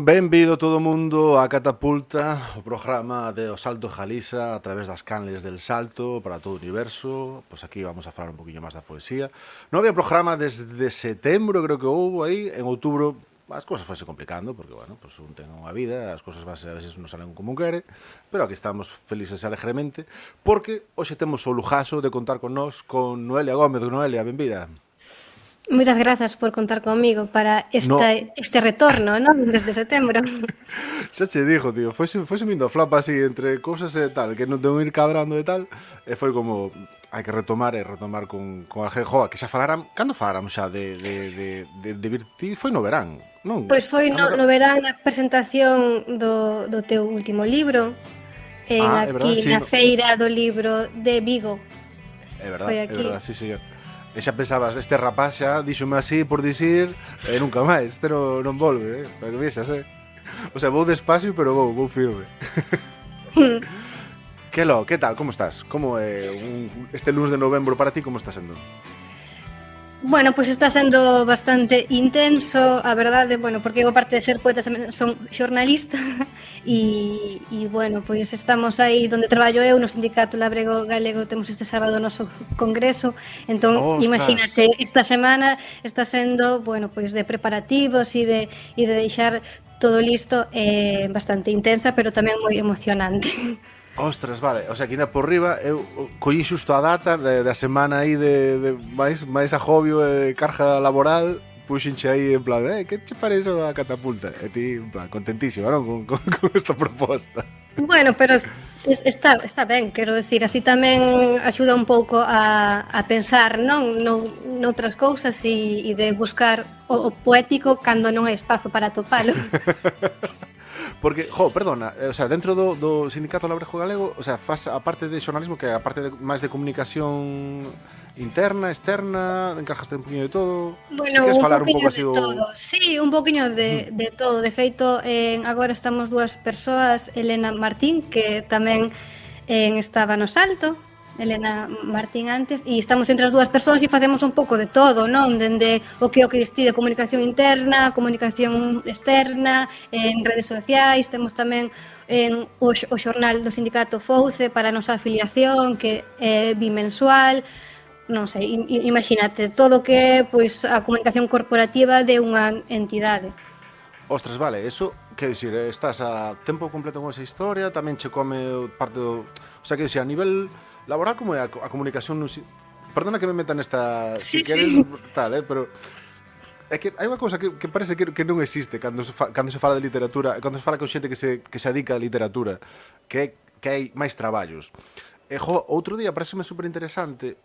Benvido todo o mundo a Catapulta, o programa de O Salto Jalisa a través das canles del salto para todo o universo. Pois aquí vamos a falar un poquinho máis da poesía. Non había programa desde setembro, creo que houve aí. En outubro as cousas fose complicando, porque, bueno, pues un ten unha vida, as cousas a veces non salen como quere, pero aquí estamos felices e alegremente, porque hoxe temos o lujazo de contar con nós con Noelia Gómez. Noelia, benvida. Moitas grazas por contar comigo para No, este retorno, non? Desde setembro. xa che dixo, tío, foi vindo a flapa así entre cousas e tal, que non tengo ir cadrando e tal, e foi como, hai que retomar con a Joa, que xa falaran, cando faláramos xa de Virti, foi no verán, non? Pois foi no verán a presentación do teu último libro, É verdad, aquí sí, na feira do libro de Vigo. é Foi aquí. verdad, sí, señor. E xa pensabas, este rapaz xa díxome así por dicir, e nunca máis, este non volve, para que vexas, O sea, vou despacio, pero vou firme. Que tal, como estás? Como é este lunes de novembro para ti, como está sendo? Bueno, pois está sendo bastante intenso, a verdade, bueno, porque eu aparte de ser poeta tamén son xornalista e bueno, pois estamos aí onde traballo eu no Sindicato Labrego Galego, temos este sábado o noso congreso, entón imagínate, esta semana está sendo, bueno, pois de preparativos e de deixar todo listo, bastante intensa, pero tamén moi emocionante. Ostras, vale, o sea, que ainda por riba eu collí xusto a data da semana aí de máis agobio e carga laboral, puxenche aí en plan, que che parece a Catapulta? E ti, en plan, contentísima, non? Con esta proposta. Bueno, pero está ben, quero decir, así tamén axuda un pouco a pensar, non? Noutras cousas e de buscar o poético cando non hai espazo para atopalo. Porque, perdona, o sea, dentro do Sindicato Labrego Galego, o sea, faz a parte de xornalismo, que a parte máis de comunicación interna, externa, encargaste un poquinho de todo. Bueno, si un falar poquinho un pouco así de todo. Sí, un poquinho de todo. De feito, agora estamos dúas persoas, Elena Martín, que tamén estaba no Salto, Elena Martín antes, e estamos entre as dúas persoas e facemos un pouco de todo, non? Dende o que ti de comunicación interna, comunicación externa, en redes sociais, temos tamén o xornal do sindicato Fouce para a nosa afiliación, que é bimensual, non sei, imagínate, todo que é pois, a comunicación corporativa de unha entidade. Ostras, vale, eso, que dicir, estás a tempo completo con esa historia, tamén che come parte do... O sea, que dicir, a nivel laboral, como é a comunicación... Perdona que me meta nesta... Sí, si queres, sí. tal, pero... É que hai unha cousa que parece que non existe cando se fala de literatura, cando se fala con xente que se adica a literatura, que hai máis traballos. Outro día pareceme super interesante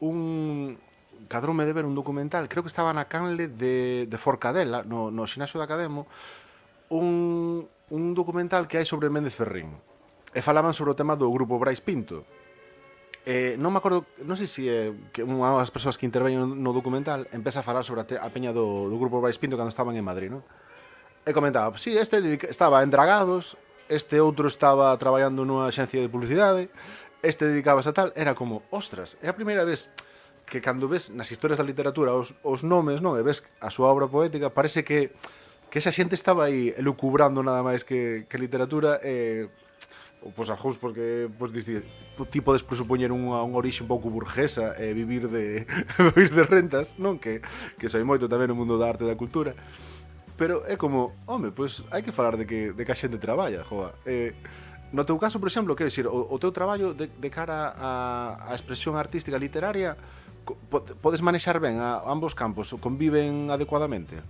cadroume de ver un documental, creo que estaba na canle de Forcadela, no xinasio da Academo, un documental que hai sobre Méndez Ferrín, e falaban sobre o tema do grupo Brais Pinto. Non me acordo, non sei se é que unha das persoas que interveñen no documental empeza a falar sobre a peña do grupo Brais Pinto cando estaban en Madrid, non? E comentaba, sí, este estaba en Dragados, este outro estaba traballando nunha axencia de publicidade, este dedicábase a tal, era como, ostras, é a primeira vez que cando ves nas historias da literatura os nomes, non, e ves a súa obra poética, parece que esa xente estaba aí elucubrando nada máis que literatura, pois algúns porque ti podes presupoñer unha orixe un pouco burguesa e vivir de rentas, non? Que soy moito tamén no mundo da arte e da cultura, pero é como, home, pois hai que falar de que a xente traballa, joa. No teu caso, por exemplo, quero dicir, o teu traballo de cara á expresión artística literaria, podes manexar ben a ambos campos, conviven adecuadamente?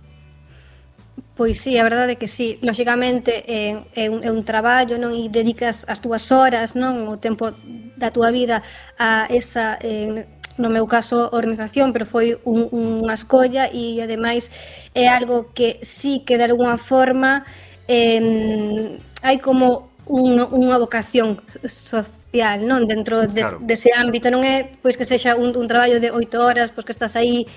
Pois sí, a verdade é que sí. Lóxicamente é un traballo, non? E dedicas as túas horas, non? O tempo da túa vida a esa, no meu caso, organización, pero foi unha escolla e, ademais, é algo que sí que de alguna forma hai como unha vocación social, non? Dentro dese ámbito, non é pois que sexa un traballo de 8 horas, pois que estás aí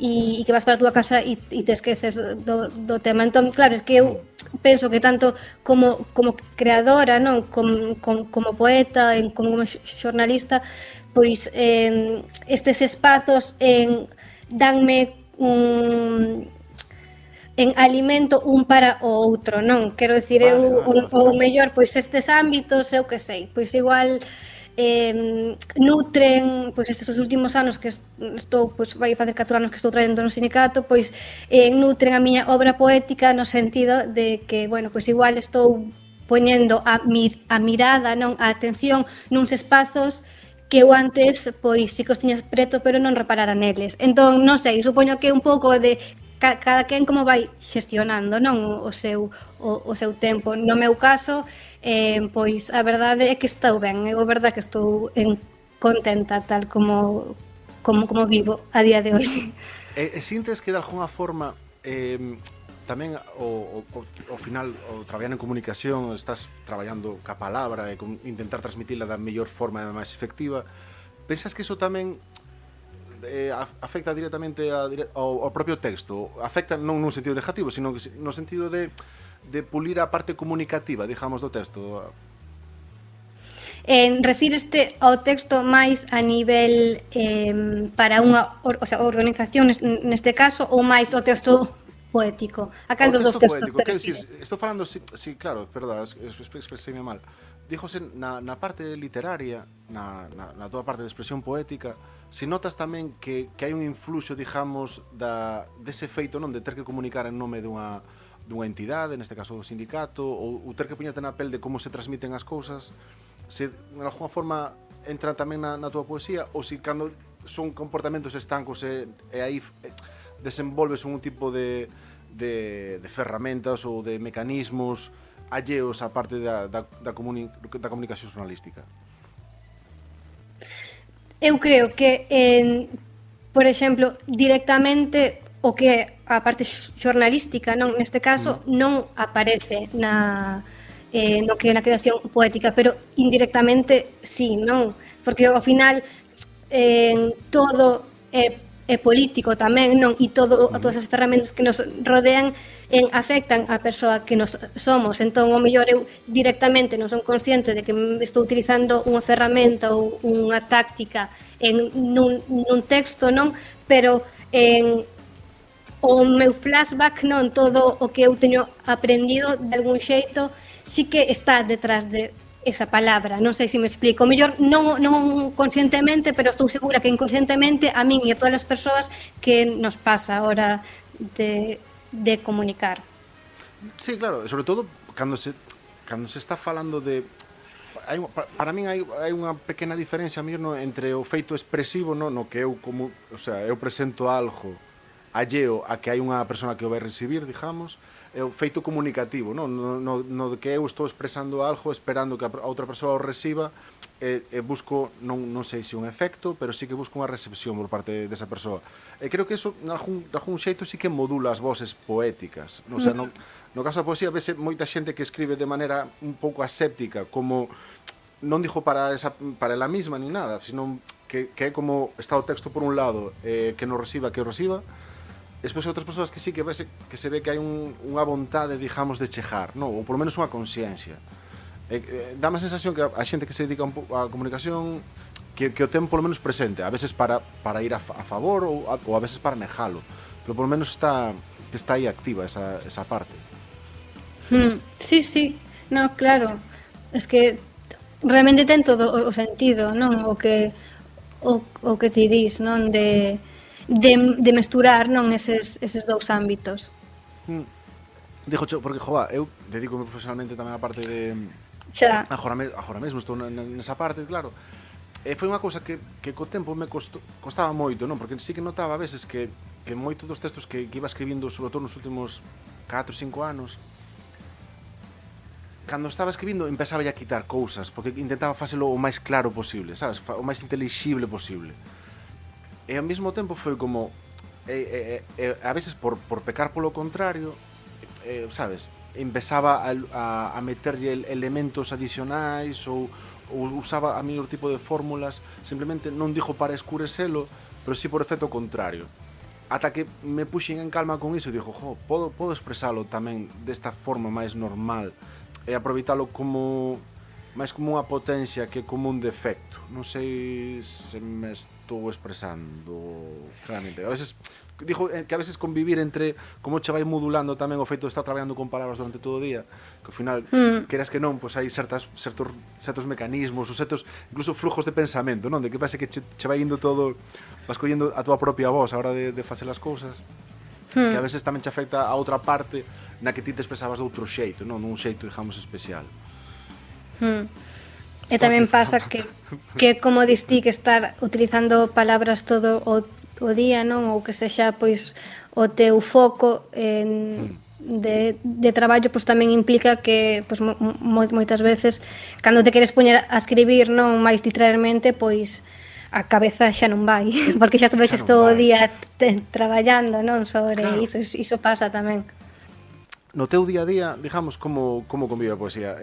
e que vas para a túa casa e te esqueces do tema. Entón, claro, é que eu penso que tanto como creadora, non, como poeta, como xornalista, pois estes espazos danme en alimento un para o outro, non? Quero dicir, o mellor, pois estes ámbitos, eu que sei, pois igual nutren, pois estes os últimos anos que estou, pois vai facer 4 anos que estou traendo no sindicato, pois nutren a miña obra poética no sentido de que, bueno, pois igual estou poñendo a mirada, non, a atención nuns espazos que eu antes, pois, si que os tiñas preto, pero non reparara neles. Entón, non sei, supoño que un pouco de cada quen como vai xestionando, non, o seu tempo. No meu caso, pois, a verdade é que estou ben, é verdade que estou contenta tal como vivo a día de hoxe. E sintes que de alguna forma tamén ao final o traballar en comunicación estás traballando ca palabra e intentar transmitila da mellor forma e da máis efectiva, pensas que iso tamén afecta directamente ao propio texto? Afecta non nun sentido negativo, sino no sentido de pulir a parte comunicativa, digamos, do texto? Refíreste ao texto máis a nivel para unha organización neste caso ou máis ao texto poético? A cal dos textos te refires? Estou falando, sí, claro, perdón, expresei mal. Díjose na parte literaria, na tua parte de expresión poética, si notas tamén que hai un influxo, digamos, dese feito, non, de ter que comunicar en nome dunha entidade, neste caso do sindicato, ou ter que poñerte na pel de como se transmiten as cousas, se de alguna forma entra tamén na tua poesía, ou si cando son comportamentos estancos e aí desenvolves un tipo de ferramentas ou de mecanismos alleos á parte da comunicación xornalística? Eu creo que, por exemplo, directamente o que é a parte xornalística, non, neste caso, non aparece no que é na creación poética, pero indirectamente sí, non? Porque ao final todo é político tamén, non? E todas as ferramentas que nos rodean afectan a persoa que nos somos. Entón, ao mellor eu directamente non son consciente de que estou utilizando unha ferramenta ou unha táctica nun texto, non? Pero o meu flashback, non, todo o que eu teño aprendido de algún xeito sí que está detrás de esa palabra, non sei se me explico. O mellor non conscientemente, pero estou segura que inconscientemente a min e a todas as persoas que nos pasa a hora de comunicar. Sí, claro, sobre todo cando se está falando de para min hai unha pequena diferencia entre o feito expresivo, no que eu eu presento algo alleo a que hai unha persona que o vai recibir, digamos, é o feito comunicativo, no que eu estou expresando algo esperando que a outra persoa o reciba e busco, non sei se un efecto, pero sí que busco unha recepción por parte desa persoa. E creo que iso, de algún xeito, sí que modula as voces poéticas. O sea, no caso da poesía, vese moita xente que escribe de maneira un pouco aséptica, como non dixo para ela mesma ni nada, sino que é como está o texto por un lado, que non reciba, que o reciba. Despois hai outras persoas que sí que se ve que hai unha vontade, digamos, de chejar, non? Ou por lo menos unha consciencia. Dá a sensación que a xente que se dedica á comunicación que o ten por lo menos presente, a veces para ir a favor ou a veces para negalo, pero por lo menos está aí activa esa parte. Sí, no, claro, es que realmente ten todo o sentido, non? O que ti dis, non? De mesturar, non, eses dous ámbitos. Dixo, porque, eu dedico-me profesionalmente tamén a parte de... Xa. Agora mesmo estou nesa parte, claro. E foi unha cousa que co tempo me costaba moito, non? Porque sí que notaba a veces que moitos dos textos que iba escribindo, sobre todo nos últimos 4 ou 5 anos, cando estaba escribindo empezaba a quitar cousas, porque intentaba facelo o máis claro posible, sabes? O máis intelixible posible. E ao mesmo tempo foi como a veces por pecar polo contrario, sabes, empezaba a meterlle elementos adicionais ou usaba a mellor tipo de fórmulas, simplemente non dixo para escurecelo, pero sí por efecto contrario. Ata que me puxen en calma con iso e dixo, podo expresalo tamén desta forma máis normal e aproveitalo máis como unha potencia que como un defecto. Non sei se me estou expresando claramente. A veces digo que a veces convivir entre como che vai modulando tamén o feito de estar traballando con palabras durante todo o día, que ao final, queras que non, pois hai certos mecanismos, ou certos incluso flujos de pensamento, non? De que parece que che vai indo todo, vas collendo a tua propia voz a hora de facer as cousas, que a veces tamén che afecta a outra parte na que ti te expresabas de outro xeito, non? Nun xeito, digamos, especial. E tamén pasa que como distí que estar utilizando palabras todo o día, non? Ou que sexa pois o teu foco de traballo, pois tamén implica que pois moitas veces cando te queres poñer a escribir, non máis literalmente, pois a cabeza xa non vai, porque xa estuveches todo o día traballando, non? Sobre iso pasa tamén. No teu día a día, digamos, como convive a poesía?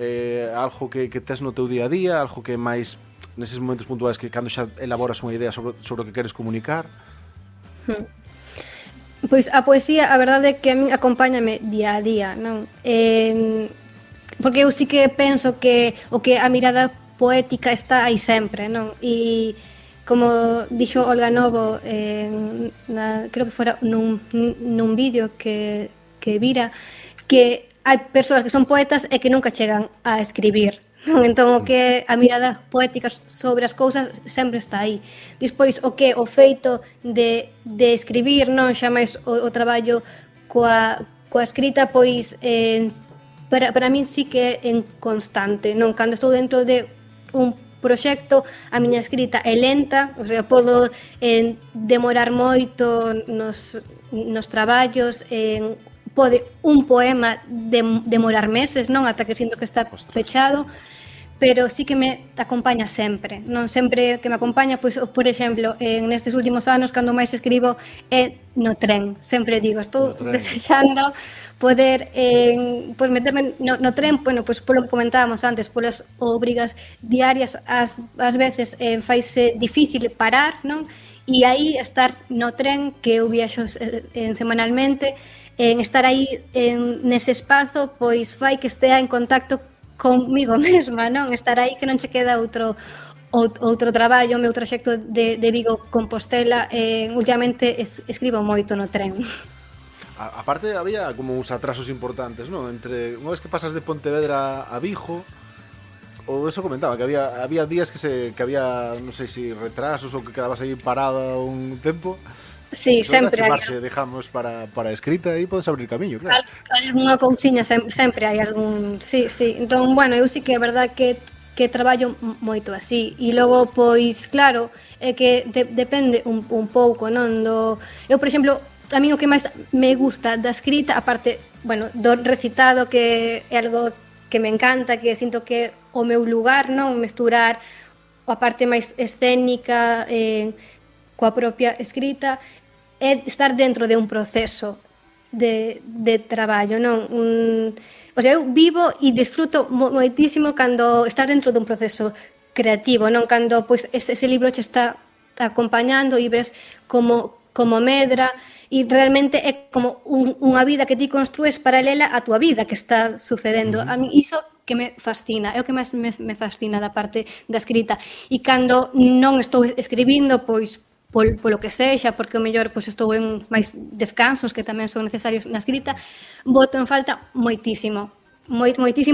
Algo que tes no teu día a día, algo que máis neses momentos puntuais que cando xa elaboras unha idea sobre o que queres comunicar? Pois a poesía, a verdade é que a min acompáñame día a día, non? Porque eu sí que penso que a mirada poética está aí sempre, non? E como dixo Olga Novo, creo que fora nun vídeo que vira, que hai persoas que son poetas e que nunca chegan a escribir, non? Entón, o que a mirada poética sobre as cousas sempre está aí. Despois, o feito de escribir, non? Xa máis o traballo coa escrita, pois, para min sí que é en constante, non? Cando estou dentro de un proxecto, a miña escrita é lenta, o sea, podo demorar moito nos traballos, pode un poema demorar meses, non? Ata que sinto que está pechado, pero sí que me acompaña sempre, non? Sempre que me acompaña, pois, por exemplo, nestes últimos anos, cando máis escribo é no tren. Sempre digo, estou desexando poder pois meterme no tren, bueno, pois polo que comentábamos antes, polas obrigas diarias, ás veces faise difícil parar, non? E aí estar no tren, que eu viaxo semanalmente, en estar aí nese espazo, pois fai que estea en contacto comigo mesma, non? Estar aí que non che queda outro traballo. O meu traxecto de Vigo Compostela, últimamente escribo moito no tren. Aparte, había como uns atrasos importantes, non? Entre unha vez que pasas de Pontevedra a Vigo, ou eso comentaba, que había días que había, non sei se retrasos ou que quedabas aí parada un tempo. Sí, sempre hai. Dejamos para a escrita e podes abrir camiño, claro. Algunha cousiña sempre hai algún... Sí. Entón, bueno, eu sí que é verdad que traballo moito así. E logo, pois, claro, é que depende un pouco, non? Eu, por exemplo, a mí o que máis me gusta da escrita, aparte, bueno, do recitado, que é algo que me encanta, que sinto que o meu lugar, non? Mesturar a parte máis escénica coa propia escrita, é estar dentro de un proceso de traballo, non? O sea, eu vivo e disfruto moitísimo cando estar dentro dun proceso creativo, non? Cando pois ese libro che está acompañando e ves como medra, e realmente é como unha vida que ti construes paralela á túa vida que está sucedendo. A mí iso que me fascina, é o que máis me fascina da parte da escrita. E cando non estou escribindo, pois polo que sexa, porque o mellor pois estou en máis descansos que tamén son necesarios na escrita, boto en falta moitísimo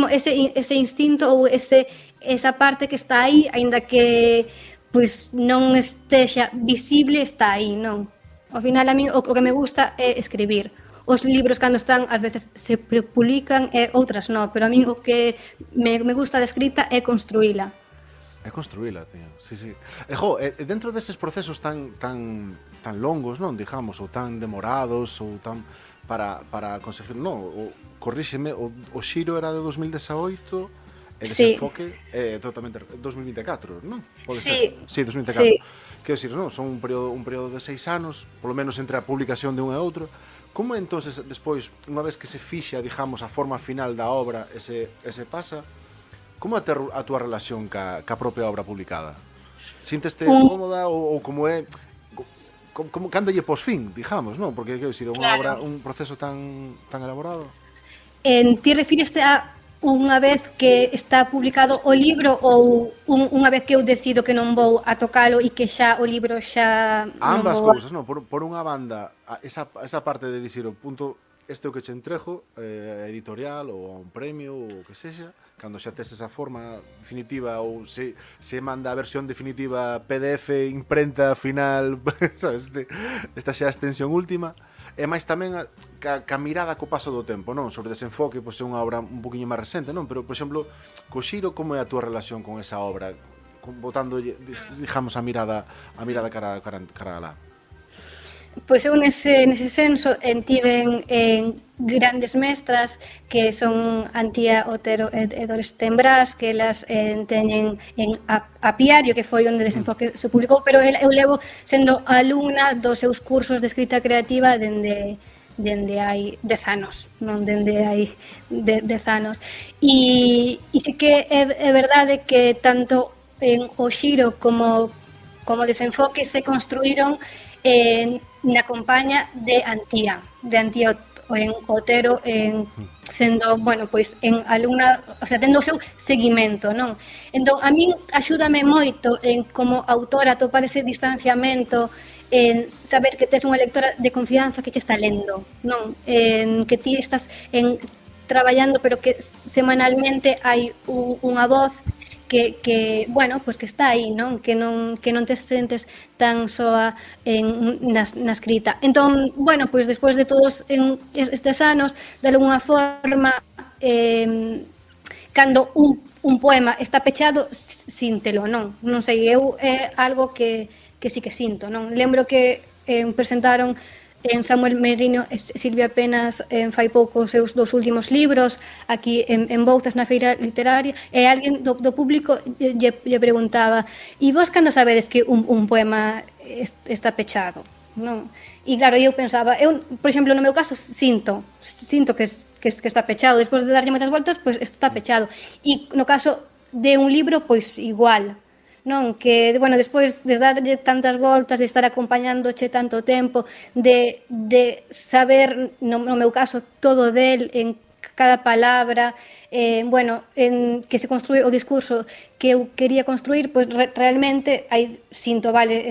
ese instinto ou esa parte que está aí, aínda que pois non estexa visible, está aí, non? Ao final, a mí o que me gusta é escribir. Os libros, cando están, ás veces se publican e outras non, pero a mí o que me gusta da escrita é construíla. É construíla, tío. Sí. Dentro deses procesos tan longos, non, digamos, ou tan demorados, ou tan para conseguir, non, corríxeme, o Xiro era de 2018 e Desenfoque totalmente 2024, non? Pode ser? Sí, 2024. Sí. Quero dicir, non, son un período de 6 anos, polo menos entre a publicación de un e outro. Como entonces despois, unha vez que se fixa, digamos, a forma final da obra, ese pasa, como é a túa relación ca propia obra publicada? Sinteste cómoda ou como é como cando lle pos fin, digamos, non? Porque quero dicir, unha obra, un proceso tan elaborado. Ti refíreste a unha vez que está publicado o libro ou unha vez que eu decido que non vou a tocalo e que xa o libro xa non Ambas vou cousas, non? Por unha banda, esa parte de dicir o punto este o que che entrejo, editorial ou a un premio ou o que sexa, cando xa tes esa forma definitiva ou se manda a versión definitiva PDF, imprenta, final, sabes, esta xa a extensión última, e máis tamén ca mirada co paso do tempo, non? Sobre Desenfoque, pois é unha obra un poquinho máis recente, non? Pero, por exemplo, co Xiro, como é a túa relación con esa obra? Botando, digamos, a mirada cara alá. Pois eu nese senso tiven grandes mestras que son Antía Otero e Dores Tembrás, que elas teñen en Apiario, que foi onde Desenfoque se publicou, pero eu levo sendo alumna dos seus cursos de escrita creativa dende hai 10 anos, non dende hai 10 anos. E sí que é verdade que tanto en o Xiro como Desenfoque se construíron na compaña de Antía en Otero, sendo, bueno, pois en alumna, o sea, tendo o seu seguimento, non? Entón, a min axúdame moito como autora a topar ese distanciamento, en saber que tes unha lectora de confianza que che está lendo, non? Que ti estás traballando, pero que semanalmente hai unha voz que bueno, pues que está aí, non? Que non te sentes tan soa na escrita. Entón, bueno, pois despois de todos estes anos, de alguna forma, cando un poema está pechado, síntelo, non? Non sei, eu é algo que sí que sinto, non? Lembro que presentaron en Samuel Merino e Silvia Penas fai pouco os seus dos últimos libros aquí en Bouzas na feira literaria, e alguén do público lle preguntaba: e vos cando sabedes que un poema está pechado? Non? E claro, eu pensaba, eu, por exemplo, no meu caso sinto que está pechado, despois de darlle moitas voltas, pois está pechado. E no caso de un libro, pois igual, non? Que, bueno, despois de darlle tantas voltas, de estar acompañándoche tanto tempo, de saber, no meu caso, todo del, en cada palabra, bueno, que se construe o discurso que eu quería construir, pois realmente aí sinto, vale,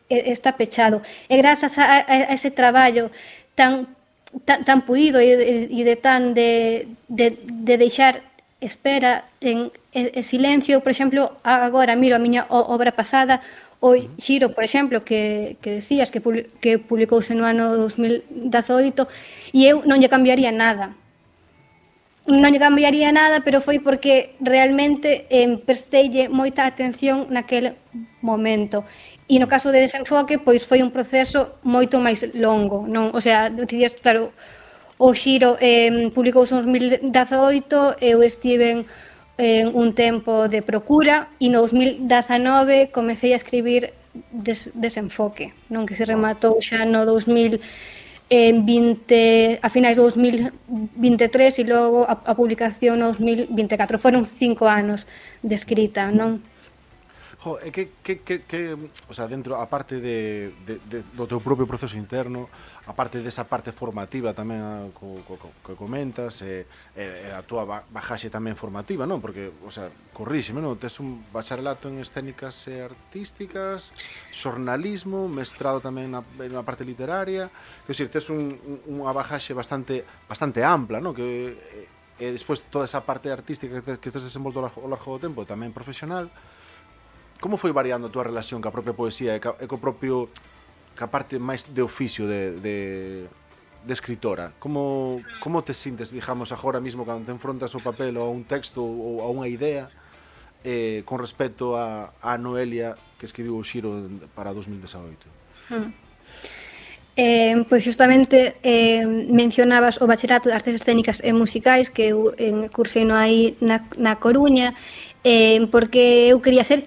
está pechado. E grazas a ese traballo tan puído e de deixar espera en silencio, por exemplo, agora miro a miña obra pasada, o Xiro, por exemplo, que decías que publicouse no ano 2018, e eu non lle cambiaría nada. Non lle cambiaría nada, pero foi porque realmente presteille moita atención naquele momento. E no caso de Desenfoque, pois foi un proceso moito máis longo, non? O sea, decías, claro, o Xiro publicouse en 2018, eu estiven un tempo de procura e no 2019 comecei a escribir Desenfoque, non? Que se rematou xa no 2020, a finais do 2023 e logo a publicación no 2024. Foron 5 anos de escrita, non? Jo, é que o sea, dentro, a parte do teu propio proceso interno, a parte desa parte formativa tamén que comentas, a túa bajaxe tamén formativa, non? Porque, o sea, corríxeme, non? Tes un bacharelato en escénicas artísticas, xornalismo, mestrado tamén na parte literaria, que, o sea, tes unha bajaxe bastante ampla, non? Que despois toda esa parte artística que tes desenvolto ao largo do tempo, tamén profesional. Como foi variando a túa relación ca propia poesía e ca parte máis de oficio de escritora? Como te sintes, digamos, agora mismo cando te enfrontas ao papel ou a un texto ou a unha idea con respecto a Noelia que escribiu o Xiro para 2018? Pois justamente mencionabas o bachillerato de artes escénicas e musicais que eu cursei aí na Coruña, porque eu quería ser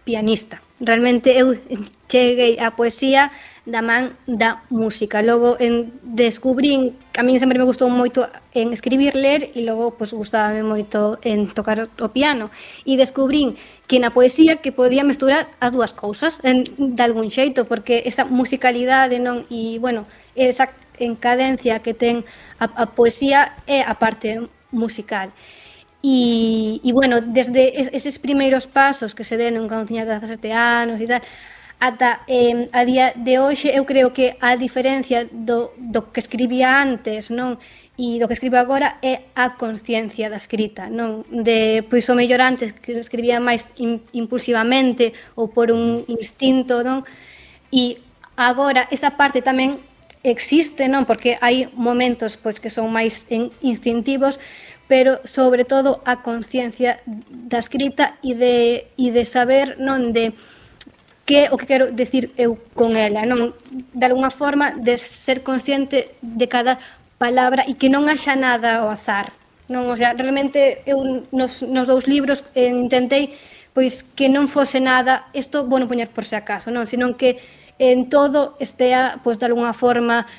pianista. Realmente eu cheguei á poesía da man da música. Logo descubrín que a mí sempre me gustou moito en escribir, ler, e logo pues, gustábame moito en tocar o piano. E descubrín que na poesía que podía mesturar as dúas cousas de algún xeito, porque esa musicalidade, non, e bueno, esa encadencia que ten a poesía é a parte musical. E bueno, desde eses primeiros pasos que se deron cando tiña 17 anos e tal, ata a día de hoxe, eu creo que a diferencia do que escribía antes, non? E do que escribo agora é a consciencia da escrita, non? Pois o mellor antes que escribía máis impulsivamente ou por un instinto, non? E agora esa parte tamén existe, non? Porque hai momentos pois que son máis instintivos, pero sobre todo a consciencia da escrita e de saber, non, de que o que quero decir eu con ela, non? De alguna forma de ser consciente de cada palabra e que non haxa nada ao azar, non? O sea, realmente eu nos 2 libros intentei pois que non fose nada, isto vou non poñer por se acaso, non? Senón que en todo estea, pois de alguna forma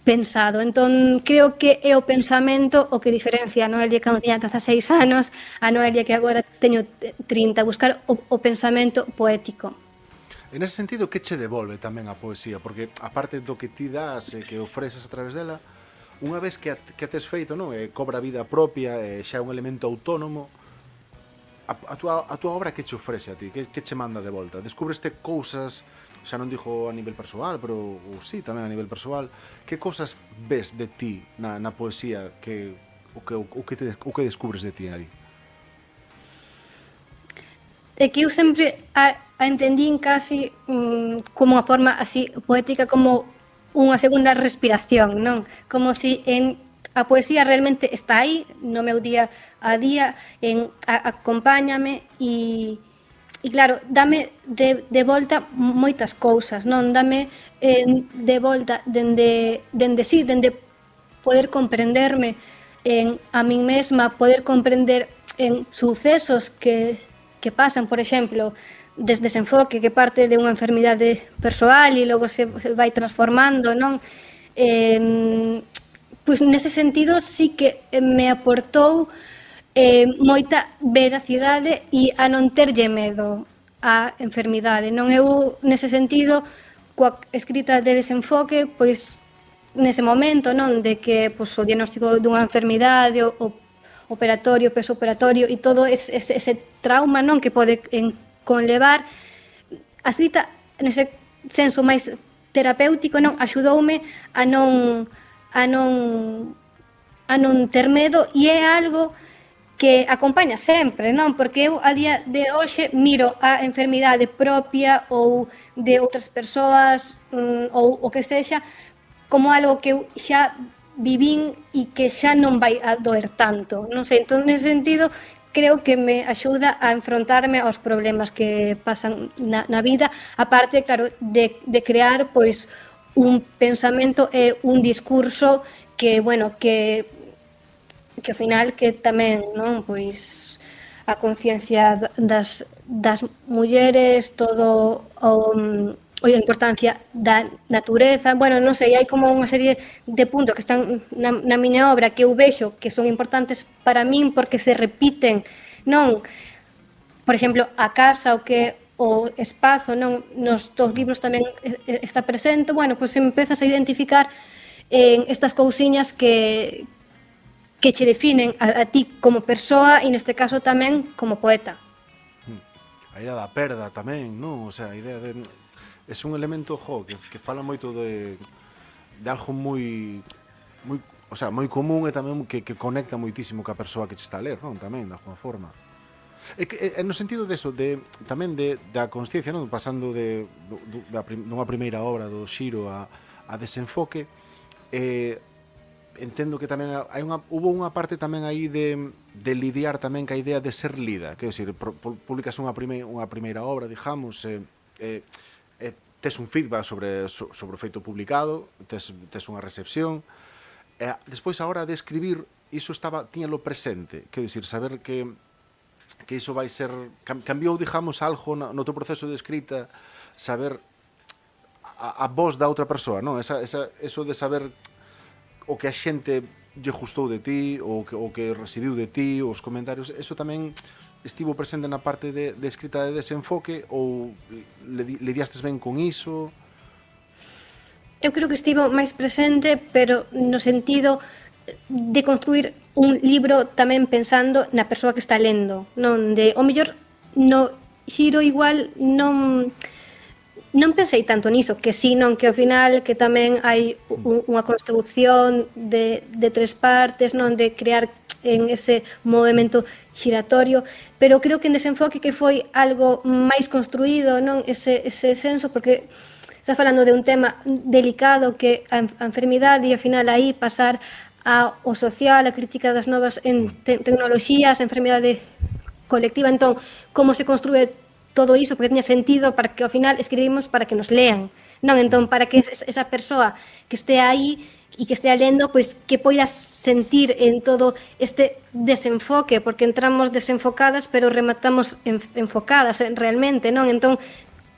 pensado. Entón, creo que é o pensamento o que diferencia a Noelia cando tiña 16 anos a Noelia que agora teño 30, buscar o pensamento poético. En ese sentido, que che devolve tamén a poesía? Porque, aparte do que ti das e que ofreces a través dela, unha vez que a tes feito, non? Cobra vida propia, xa é un elemento autónomo, a tua obra que che ofrece a ti? Que che manda de volta? Descubreste cousas, xa non dixo a nivel persoal, pero sí, tamén a nivel persoal, que cousas ves de ti na poesía o que descubres de ti aí? É que eu sempre a entendín casi como unha forma así poética, como unha segunda respiración, non? Como si a poesía realmente está aí no meu día a día, acompáñame e claro, dame de volta moitas cousas, non? Dame de volta dende poder comprenderme a min mesma, poder comprender en sucesos que pasan, por exemplo, desde desenfoque que parte de unha enfermidade persoal e logo se vai transformando, non? Pois nese sentido sí que me aportou moita veracidade e a non terlle medo á enfermidade, non? Eu nese sentido coa escrita de desenfoque, pois nese momento, non, de que pois, o diagnóstico dunha enfermidade, o operatorio, peso operatorio e todo ese trauma, non, que pode conlevar, a escrita nese senso máis terapéutico, non, axudoume a non ter medo e é algo que acompaña sempre, non? Porque eu a día de hoxe miro a enfermidade propia ou de outras persoas ou o que sexa como algo que eu xa vivín e que xa non vai a doer tanto, non sei, entón nese sentido creo que me axuda a enfrontarme aos problemas que pasan na vida, aparte, claro, de crear pois un pensamento e un discurso que, bueno, que ao final que tamén, non, pois a conciencia das mulleres, todo a importancia da natureza, bueno, non sei, hai como unha serie de puntos que están na miña obra que eu vexo que son importantes para min porque se repiten, non? Por exemplo, a casa, o espazo, non? Nos dos libros tamén está presente, bueno, pois empezas a identificar estas cousiñas que che definen a ti como persoa e neste caso tamén como poeta. A idea da perda tamén, non? O sea, a idea de... É un elemento, que fala moito de algo moi común e tamén que conecta moitísimo ca persoa que che está a ler, non? Tamén, de alguma forma. É no sentido deso, tamén da consciencia, non? Pasando dunha primeira obra do Xiro a Desenfoque, entendo que tamén hubo unha parte tamén aí de lidiar tamén ca idea de ser lida, quero dicir, publicas unha primeira obra, digamos, tes un feedback sobre o feito publicado, tes unha recepción, despois a hora de escribir iso tiñalo presente, quero dicir, saber que iso vai ser, cambiou, digamos, algo no teu proceso de escrita, saber a voz da outra persoa, non? Eso de saber o que a xente lle gustou de ti, o que recibiu de ti, os comentarios, eso tamén estivo presente na parte de escrita de Desenfoque ou lidiastes ben con iso? Eu creo que estivo máis presente, pero no sentido de construir un libro tamén pensando na persoa que está lendo, non de, o mellor, no xiro igual non pensei tanto niso, que sí, non, que ao final que tamén hai unha construcción de tres partes, non, de crear en ese movimento xiratorio, pero creo que en Desenfoque que foi algo máis construído, non, ese senso, porque está falando de un tema delicado que a enfermidade e ao final aí pasar ao social, a crítica das novas tecnoloxías, a enfermidade colectiva, entón, como se construe todo iso, porque tiña sentido para que ao final escribimos para que nos lean, non? Entón, para que esa persoa que este aí e que estea lendo, pois que poida sentir en todo este desenfoque, porque entramos desenfocadas, pero rematamos enfocadas realmente, non? Entón,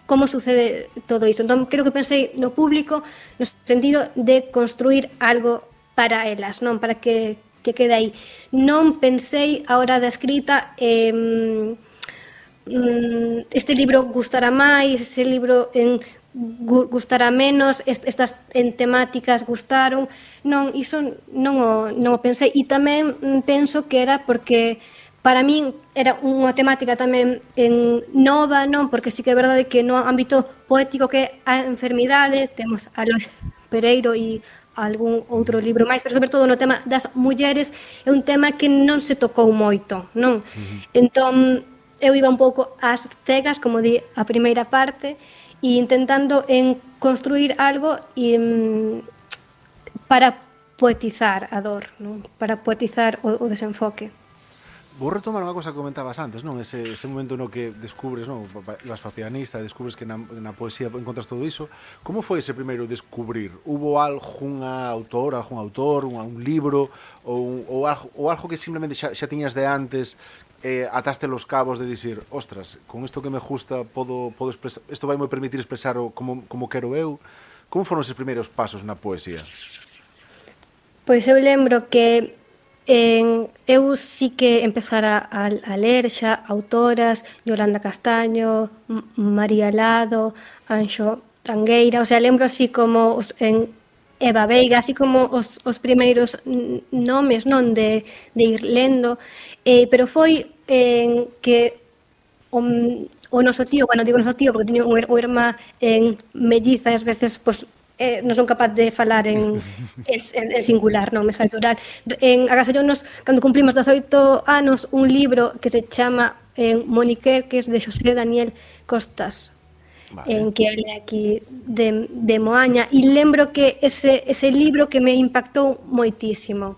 como sucede todo iso? Entón, creo que pensei no público no sentido de construir algo para elas, non? Para que quede aí. Non pensei a hora da escrita este libro gustará máis, este libro gustará menos, estas en temáticas gustaron, non, iso non o pensei, e tamén penso que era porque para min era unha temática tamén nova, non, porque sí que é verdade que no ámbito poético que a enfermidade, temos a Lois Pereiro e algún outro libro máis, pero sobre todo no tema das mulleres é un tema que non se tocou moito, non? Entón, eu iba un pouco ás cegas, como di a primeira parte, e intentando construir algo para poetizar a dor, non? Para poetizar o desenfoque. Vou retomar unha cosa que comentabas antes, non? Ese momento no que descubres, non? Vas pa pianista, descubres que na poesía encontras todo iso. Como foi ese primeiro descubrir? Hubo algún autor, un libro ou algo que simplemente xa tiñas de antes, ataste los cabos de dicir, ostras, con isto que me gusta podo expresar, isto vai me permitir expresar como quero eu. Como foron eses primeiros pasos na poesía? Pois eu lembro que eu sí que empezara a ler xa autoras, Yolanda Castaño, María Lado, Anxo Tangueira, o sea, lembro así como en Eva Veiga, así como os primeiros nomes, non, de ir lendo, pero foi que o noso tío, bueno, digo noso tío porque teño unha irmá melliza e ás veces, pois, non son capaz de falar en singular, non me sai plural. Agasallonos, cando cumplimos 18 anos, un libro que se chama Moniquer, que é de Xosé Daniel Costas, vale. Que é aquí de Moaña, e lembro que ese libro que me impactou moitísimo,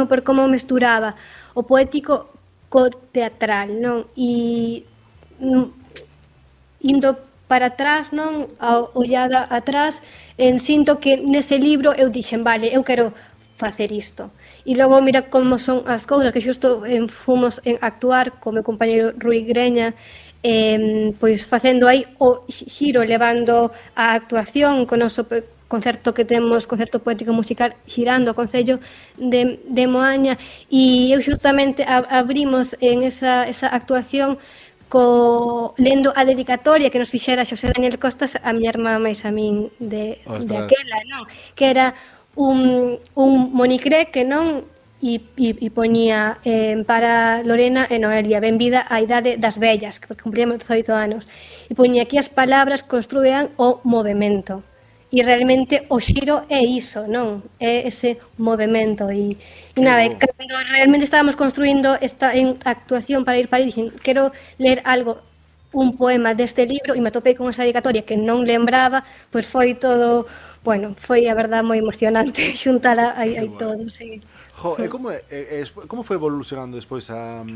por como mesturaba o poético co teatral, non? E indo para atrás, non, a ollada atrás, sinto que nese libro eu dixen, vale, eu quero facer isto. E logo mira como son as cousas, que xusto fomos en actuar co meu compañeiro Rui Greña, pois facendo aí o xiro, levando a actuación con o noso concerto que temos, concerto poético musical, xirando o Concello de Moaña, e eu xustamente abrimos en esa actuación lendo a dedicatoria que nos fixera Xosé Daniel Costas a miña irmá máis a min de aquela, non? Que era un monicré que non e poñía para Lorena e Noelia, benvida á idade das vellas, que cumpríamos 18 anos, e poñía aquí as palabras construían o movimento. E realmente o xiro é iso, non? É ese movimento e nada, cando realmente estábamos construindo esta actuación para ir para aí, dixen, quero ler algo, un poema deste libro, e me atopei con esa dedicatoria que non lembraba, pois foi todo, bueno, foi a verdade moi emocionante xuntala aí todo, sí. E como foi evolucionando despois a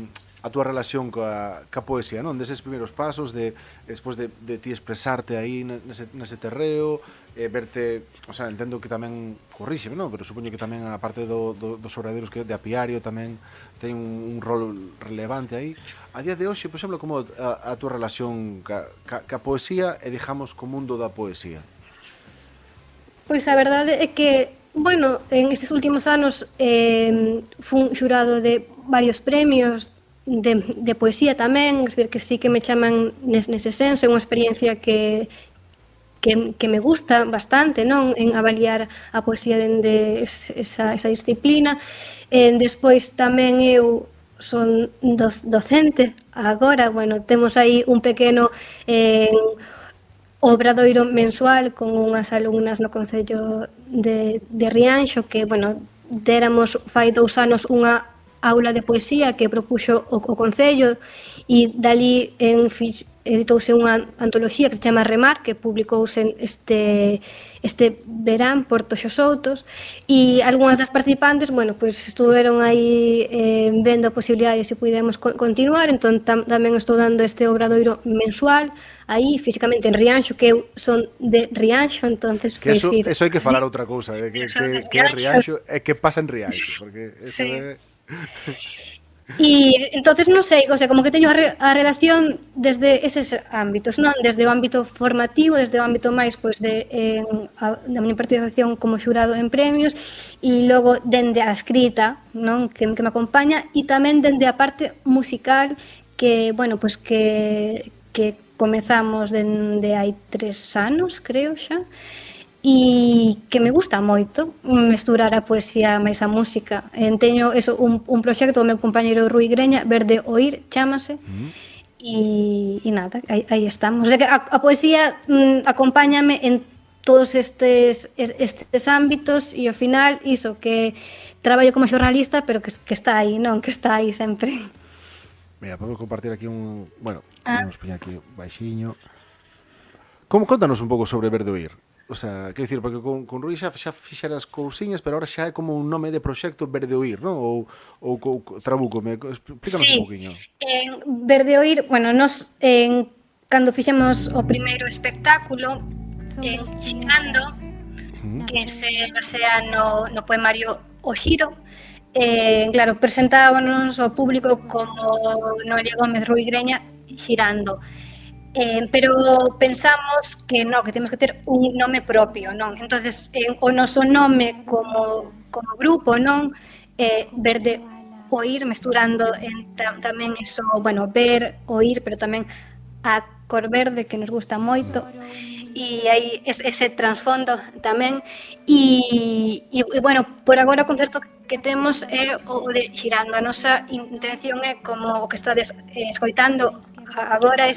túa relación coa poesía, non? Deses primeiros pasos, despois de ti expresarte aí nese terreo, verte, o sea, entendo que tamén corríxeme, non? Pero supoño que tamén a parte dos obradoiros que de apiario tamén ten un rol relevante aí. A día de hoxe, por exemplo, como a túa relación ca poesía e, digamos, co mundo da poesía? Pois a verdade é que, bueno, en estes últimos anos fun xurado de varios premios de poesía tamén, é dicir, que sí que me chaman nese senso, é unha experiencia que que me gusta bastante, non, en avaliar a poesía dende esa disciplina. Despois tamén eu son docente agora, bueno, temos aí un pequeno obradoiro mensual con unhas alumnas no Concello de Rianxo que, bueno, déramos fai 2 anos unha aula de poesía que propuxo o Concello e dali editouse unha antoloxía que se chama Remar, que publicouse este verán por Toxo Soutos, e algunhas das participantes, bueno, pois estuveron aí vendo a posibilidade de se pudemos continuar, entón tamén estou dando este obradoiro mensual aí físicamente en Rianxo, que eu son de Rianxo, entonces que eso hai que falar outra cousa, que é Rianxo e que pasa en Rianxo, porque eso é... E entonces non sei, o sea, como que teño a relación desde eses ámbitos, non? Desde o ámbito formativo, desde o ámbito máis pois da miña participación como xurado en premios e logo dende a escrita, non? Que me acompaña e tamén dende a parte musical que, bueno, pois que comezamos dende hai 3 anos, creo xa. E que me gusta moito mesturar a poesía máis a música. Teño eso, un proxecto do meu compañeiro Rui Greña, Verde Oír, chámase, e nada, aí estamos. O sea que a poesía acompáñame en todos estes ámbitos e ao final iso, que traballo como xornalista, pero que está aí, non? Que está aí sempre. Mira, podemos compartir aquí bueno, vamos poñer aquí baixiño. Contanos un pouco sobre Verde Oír. O sea, quero dicir, porque con Rui xa fixeras cousiñas, pero ahora xa é como un nome de proxecto Verde Oír, non? Ou trabúcome, explícanos un pouquiño. Verde Oír, bueno, nos cando fixemos o primeiro espectáculo Xirando, que se basea no poemario O Xiro, claro, presentábamos ao público como Noelia Gómez, Rui Greña, Xirando. Pero pensamos que non, que temos que ter un nome propio, non? Entonces, o noso nome como grupo, non? Verde Oír, mesturando tamén eso, bueno, ver, oír, pero tamén a cor verde, que nos gusta moito, e aí ese trasfondo tamén, e bueno, por agora o concerto que temos é o de Xirando. A nosa intención é como o que estades escoitando agora,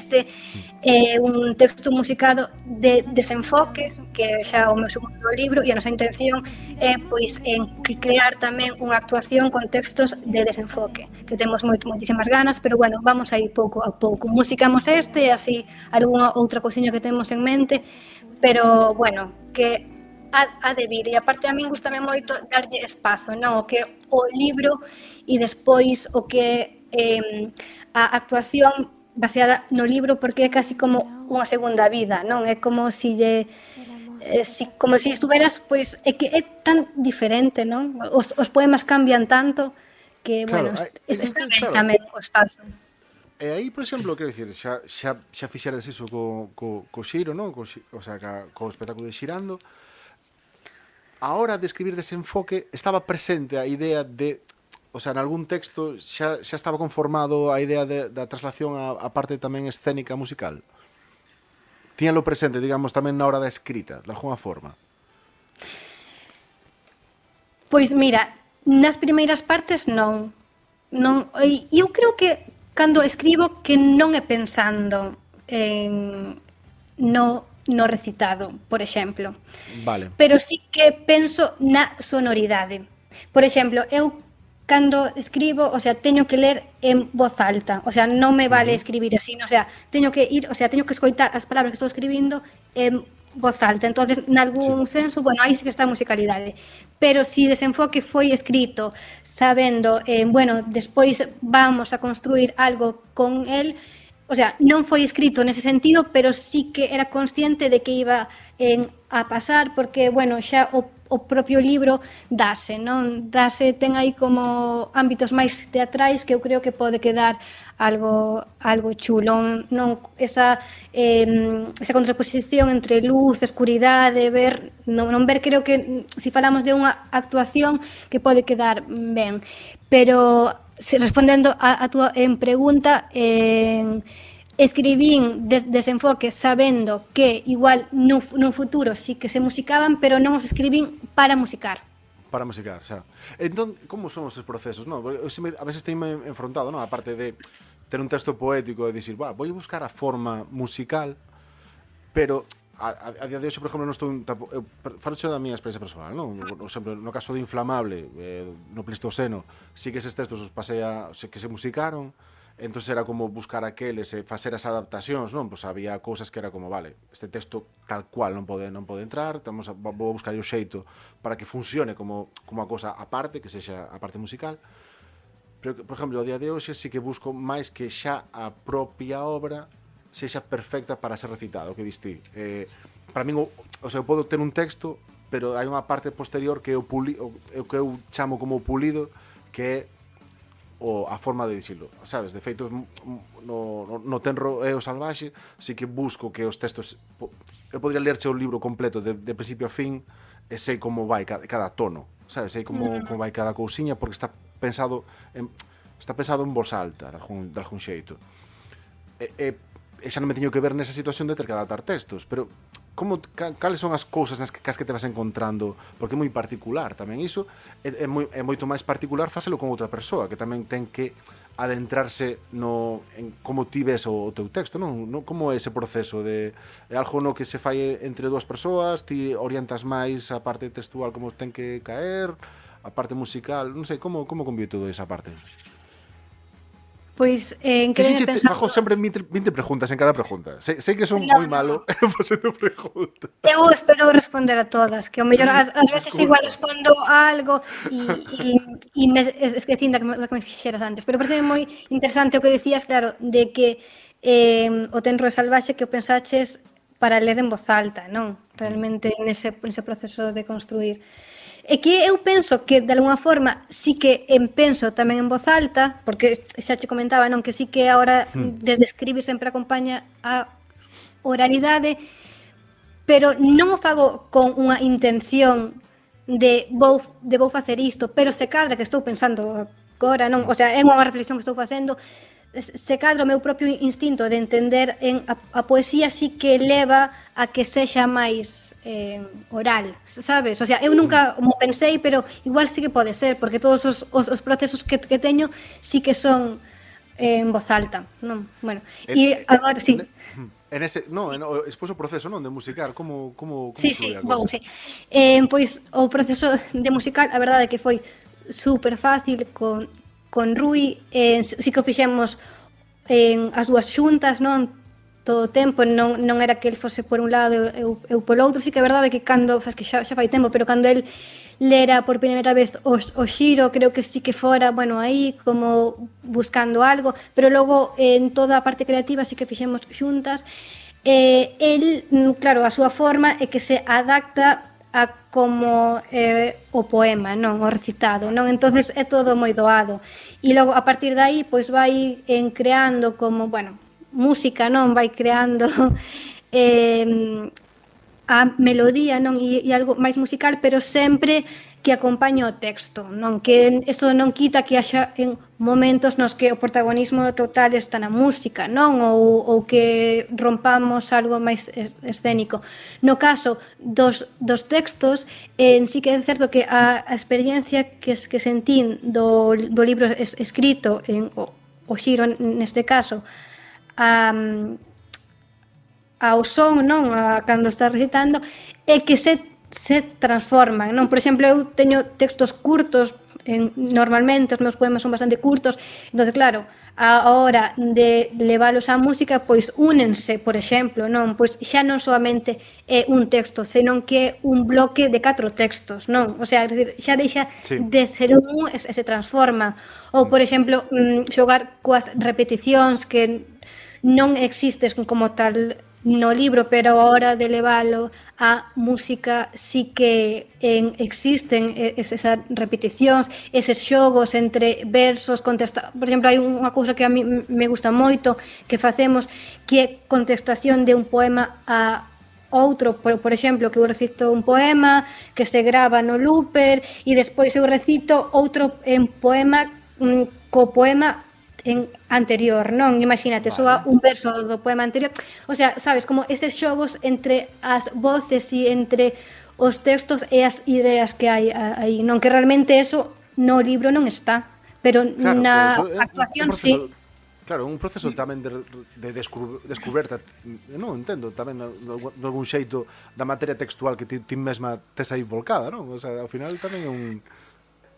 un texto musicado de Desenfoque, que xa o meu segundo libro, e a nosa intención é pois crear tamén unha actuación con textos de Desenfoque, que temos moitísimas ganas, pero bueno, vamos aí pouco a pouco. Musicamos e así algunha outra cousiña que temos en mente, pero bueno, que ha de vir, e aparte a min gustame moito darlle espazo, non? O que o libro e despois o que a actuación baseada no libro, porque é casi como unha segunda vida, non? É como si estuveras, pois é que é tan diferente, non? Os poemas cambian tanto que, claro, bueno, está ben tamén o espazo. E aí, por exemplo, quero dicir, xa fixeras iso co Xiro, non? O sea, co espectáculo de Xirando. A hora de escribir Desenfoque estaba presente a idea de, o sea, en algún texto xa estaba conformado a idea da traslación a parte tamén escénica musical. Tíanlo presente, digamos, tamén na hora da escrita, de alguna forma. Pois mira, nas primeiras partes non. Eu creo que cando escribo que non é pensando no recitado, por exemplo. Vale. Pero sí que penso na sonoridade. Por exemplo, eu cando escribo, o sea, teño que ler en voz alta, o sea, non me vale escribir así, o sea, teño que escoitar as palabras que estou escribindo en voz alta. Entonces, nalgún senso, bueno, aí sí que está a musicalidade. Pero si Desenfoque foi escrito sabendo, bueno, despois vamos a construir algo con el, o sea, non foi escrito nese sentido, pero sí que era consciente de que iba a pasar, porque, bueno, xa o propio libro dase, non? Ten aí como ámbitos máis teatrais que eu creo que pode quedar algo chulo, non? Esa contraposición entre luz, escuridade, non ver, creo que se falamos de unha actuación que pode quedar ben, pero respondendo a túa pregunta, escribín desenfoque sabendo que igual nun futuro sí que se musicaban, pero non os escribín para musicar. Para musicar, xa. Entón, como son os procesos, non? A veces teño enfrontado, non? A parte de ter un texto poético e dicir, vou buscar a forma musical, pero a día de hoxe, por exemplo, non estou falo da miña experiencia persoal, non? Por exemplo, no caso de Inflamable, no Pleistoceno, sí que eses textos os pasei que se musicaron, entón era como buscar aqueles e facer as adaptacións, non? Pois había cousas que era como, vale, este texto tal cual non pode entrar, vou buscar o xeito para que funcione como a cousa aparte, que sexa a parte musical. Pero, por exemplo, a día de hoxe sí que busco máis que xa a propia obra sexa perfecta para ser recitado, o que diste. Para min, o sea, eu podo ter un texto, pero hai unha parte posterior que o que eu chamo como pulido, que é a forma de dicilo, sabes? De feito, no Tenro e o Salvaxe, sí que busco que os textos... Eu podría lerche o libro completo de principio a fin e sei como vai cada tono, sabes? Sei como vai cada cousiña, porque está pensado en voz alta, de algún xeito. E xa non me teño que ver nesa situación de ter que adaptar textos, pero cales son as cousas nas que te vas encontrando? Porque é moi particular tamén iso, é moito máis particular facelo con outra persoa, que tamén ten que adentrarse en como ti ves o teu texto, non? Como é ese proceso é algo no que se fai entre dúas persoas, ti orientas máis a parte textual como ten que caer, a parte musical, non sei, como convive todo esa parte? Pois, en que pensar... Fajo sempre 20 preguntas en cada pregunta. Sei que son moi malo facendo preguntas. Eu espero responder a todas, que ao mellor ás veces igual respondo a algo e me esquecín da que me fixeras antes. Pero parece moi interesante o que decías, claro, de que o Tenro e Salvaxe que o pensaches para ler en voz alta, non? Realmente nese proceso de construir. É que eu penso que, de alguna forma, sí que penso tamén en voz alta, porque xa che comentaba, non, que sí que agora desde escribir sempre acompaña a oralidade, pero non o fago con unha intención de vou facer isto, pero se cadra que estou pensando agora, non, o sea, é unha reflexión que estou facendo, se cadra o meu propio instinto de entender a poesía sí que leva a que sexa máis oral, sabes? O sea, eu nunca mo pensei, pero igual sí que pode ser, porque todos os procesos que teño sí que son en voz alta, non? Bueno, e agora sí. Despois o proceso, non, de musicar, como sí, pois o proceso de musical, a verdade é que foi super fácil con Rui, sí que o fixemos as dúas xuntas, non? Todo o tempo, non era que el fose por un lado eu polo outro, sí que é verdade que cando, que xa fai tempo, pero cando el lera por primeira vez o Xiro, creo que sí que fora, bueno, aí como buscando algo, pero logo en toda a parte creativa sí que fixemos xuntas. El, claro, a súa forma é que se adapta a como o poema, non, o recitado, non? Entonces é todo moi doado. E logo a partir de aí pois vai creando como, bueno, música, non, vai creando a melodía, non, e algo máis musical, pero sempre que acompaña o texto, non, que eso non quita que haxa en momentos nos que o protagonismo total está na música, non, ou que rompamos algo máis escénico. No caso dos textos, sí que é certo que a experiencia que sentín do libro escrito en o Xiro neste caso, ao son, non, cando está recitando, é que se transforman, non? Por exemplo, eu teño textos curtos, normalmente os meus poemas son bastante curtos, entón, claro, a hora de leválos á música, pois únense, por exemplo, non? Pois xa non solamente é un texto, senón que é un bloque de 4 textos, non? O sea, xa deixa de ser un e se transforma. Ou, por exemplo, xogar coas repeticións que non existes como tal no libro, pero a hora de leválo a música sí que existen esas repeticións, eses xogos entre versos, por exemplo, hai unha cousa que a mí me gusta moito que facemos, que é contestación de un poema a outro, por exemplo, que eu recito un poema que se grava no looper e despois eu recito outro poema co poema anterior, non? Imagínate, soa un verso do poema anterior. O sea, sabes, como eses xogos entre as voces e entre os textos e as ideas que hai aí, non? Que realmente eso no libro non está, pero Claro, na pero eso é actuación proceso, sí. claro, un proceso tamén de descuberta, non entendo, tamén de algún xeito da materia textual que ti mesma tes aí volcada, non? O sea, ao final tamén é un...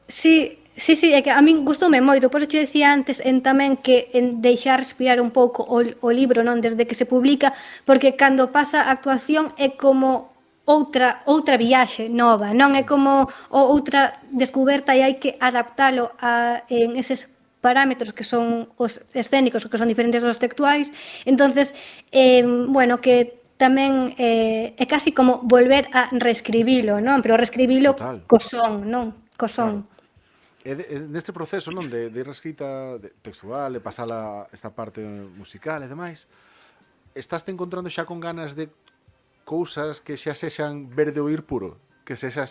Sí, é que a min gustoume moito, por che decía antes tamén que en deixar respirar un pouco o libro, non, desde que se publica, porque cando pasa a actuación é como outra viaxe nova, non é como outra descuberta e hai que adaptalo en eses parámetros que son os escénicos, que son diferentes dos textuais. Entonces, bueno, que tamén é casi como volver a reescribilo, non? Pero reescribilo co son, non? Co son. Claro. Neste proceso, non, de reescrita textual e pasala esta parte musical e demais, estás te encontrando xa con ganas de cousas que xa sexan verde oír puro, que sexa,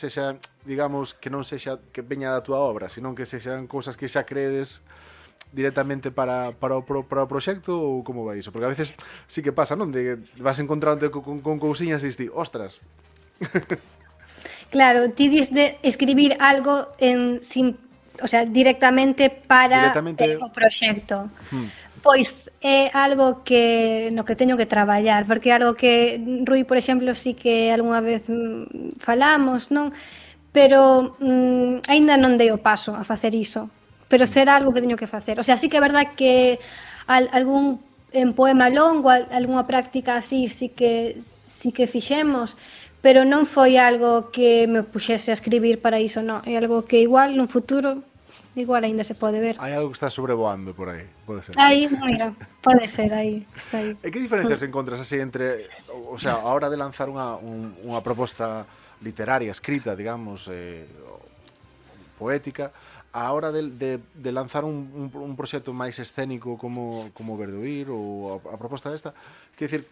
digamos, que non sexa que veña da túa obra, senón que sexan cousas que xa credes directamente para o proxecto, ou como vai iso? Porque a veces sí que pasa, non? De vas encontrándote con cousiñas e dis, ostras. Claro, ti dis de escribir algo o sea, directamente para o proxecto. Pois é algo que no que teño que traballar, porque é algo que Rui, por exemplo, sí que algunha vez falamos, non? Pero aínda non dei o paso a facer iso, pero será algo que teño que facer. O sea, sí que é verdad que algún poema longo, algunha práctica así, sí que fixemos, pero non foi algo que me puxese a escribir para iso, non. É algo que igual nun futuro igual aínda se pode ver. Hai algo que está sobrevoando por aí, pode ser. Aí, mira, pode ser aí, está aí. E que diferencias encontras así entre, o sea, a hora de lanzar unha proposta literaria, escrita, digamos, poética, a hora de lanzar un proxecto máis escénico como Verduir ou a proposta desta, quer dicir,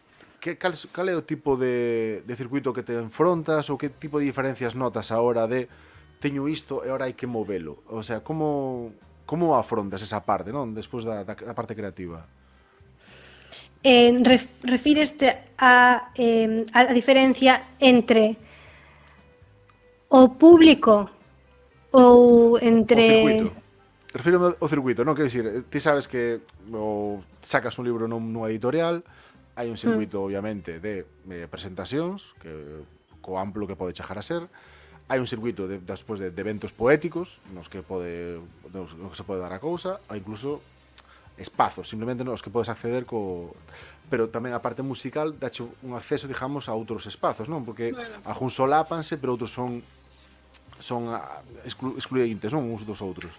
cal é o tipo de circuito que te enfrontas ou que tipo de diferencias notas a hora de teño isto e ahora hai que movelo? O sea, como afrontas esa parte, non? Despois da parte creativa. Refíreste a diferencia entre o público ou entre... O circuito. Refírome ao circuito, non? Quero dicir, ti sabes que sacas un libro nunha editorial, hai un circuito, obviamente, de presentacións, que co amplo que pode chegar a ser, hai un circuito despois de eventos poéticos nos que se pode dar a cousa, ou incluso espazos, simplemente nos que podes acceder pero tamén a parte musical dache un acceso, digamos, a outros espazos, non? Porque algúns solápanse, pero outros son excluíntes, non? Uns dos outros.